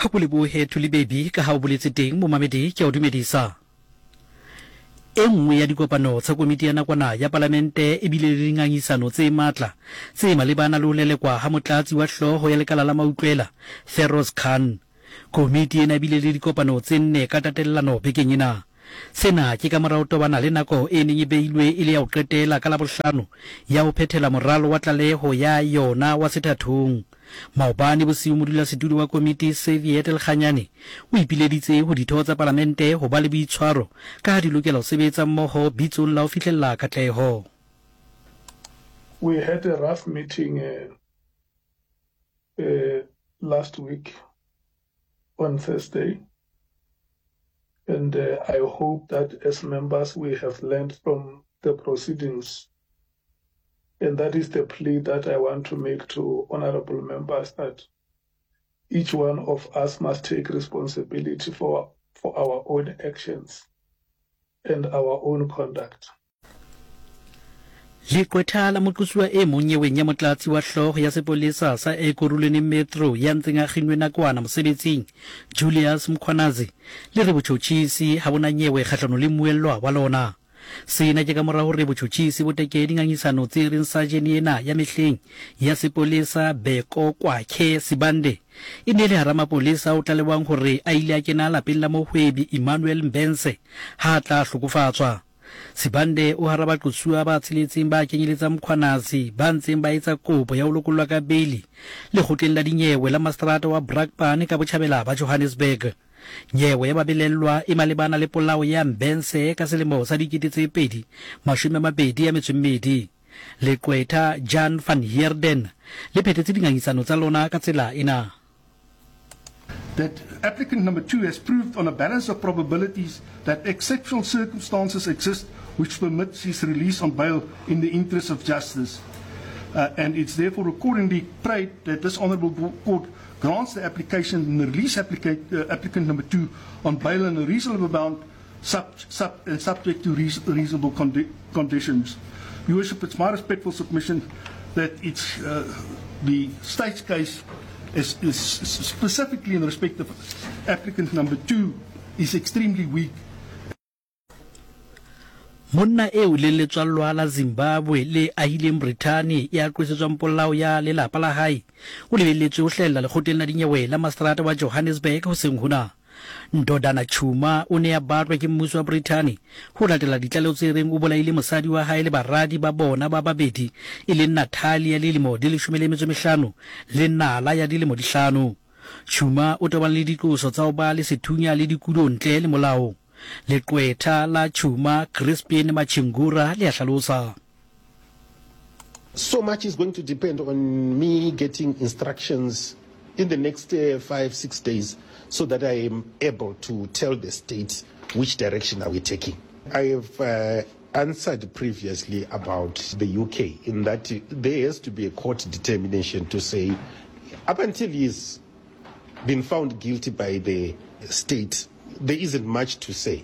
Ha ko lebohe Thuli Baby ka ha o boletse teng momamedi ke a o dumedisa. E nngwe ya dikopano tsa komiti ya nakwana ya palamente e bile le dingangisano tse matla tse malebana le ho lelekwa ha motlatsi wa hlooho ya lekala la mautlwela Feroz Khan. Komiti ena e bile le dikopano tse nne ka tatellano bekeng ena. Sena ke ka mora ho tobana le nako e neng e beilwe e le ya ho qetela ka Labohlano ya ho phethela moralo wa tlaleho ya yona wa sethathong. Maobane bosiu modulasetulo wa komiti Xavier Lekganyane o ipileditse ho ditho tsa palamente ho ba le boitshwaro ka ha di lokela ho sebetsa mmoho bitsong la ho fihlella katleho. We had a rough meeting last week on Thursday and I hope that as members we have learned from the proceedings and that is the plea that I want to make to honorable members that each one of us must take responsibility for, for our own actions and our own conduct. Leqwetha la moqosuwa e mong nyeweng ya motlatsi wa hlooho ya sepolesa sa Ekurhuleni Metro ya ntseng a kginnwe nakwana mosebetsing, Julius Mkhwanazi, le re botjhotjhisi ha bo na nyewe kgahlano le mmuellwa wa lona. Sena ke ka mora hore botjhotjhisi bo tekee dingangisano tse reng sajene ena ya mehleng ya sepolesa Beko Kwakhe Sibande e ne e le hara mapolesa ao tlalewang hore a ile a kena lapeng la mohwebi Emmanuel Mbense ha a tla hlokofatswa. Sibande o hara baqosuwa ba tsheletseng ba kenyeletsang Mkhwanazi ba ntseng ba etsa kopo ya ho lokollwa ka beili lekgotleng la dinyewe la maseterata wa Brakpan ka botjhabela ba Johannesburg. Nyewe ya babelellwa e malebana le polao ya Mbense ka selemo sa 2022. Leqwetha Jan van Heerden le phethetse dingangisano tsa lona ka tsela ena. That applicant number 2 has proved on a balance of probabilities that exceptional circumstances exist which permits his release on bail in the interest of justice. And it's therefore accordingly prayed that this honourable court grants the application and release applicant number 2 on bail in a reasonable amount sub, sub, and subject to reasonable conditions. Your Worship, it's my respectful submission that it's the state's case is, is specifically in respect of applicant number 2 is extremely weak. Monna eo leng letswallwa la Zimbabwe le ahileng Brithani ya qosetswang polao ya lelapa la hae o lebelletswe ho hlahella lekgotleng la dinyewe la maseterata wa Johannesburg hoseng hona. Ndodana Tshuma o ne a batlwa ke mmuso wa Brithani ho latela ditlaleho tse reng o bolaile mosadi wa hae le baradi ba bona ba babedi e leng Natalia ya dilemo di 15 le Nala ya dilemo di hlano. Tshuma o tobane le diqoso tsa ho ba le sethunya le dikulo ntle le molao. Leqwetha la Tshuma, Crispin Machingura le a hlalosa. So much is going to depend on me getting instructions in the next 5, 6 days so that I am able to tell the state which direction are we taking. I have answered previously about the UK in that there has to be a court determination to say up until he's been found guilty by the state, there isn't much to say.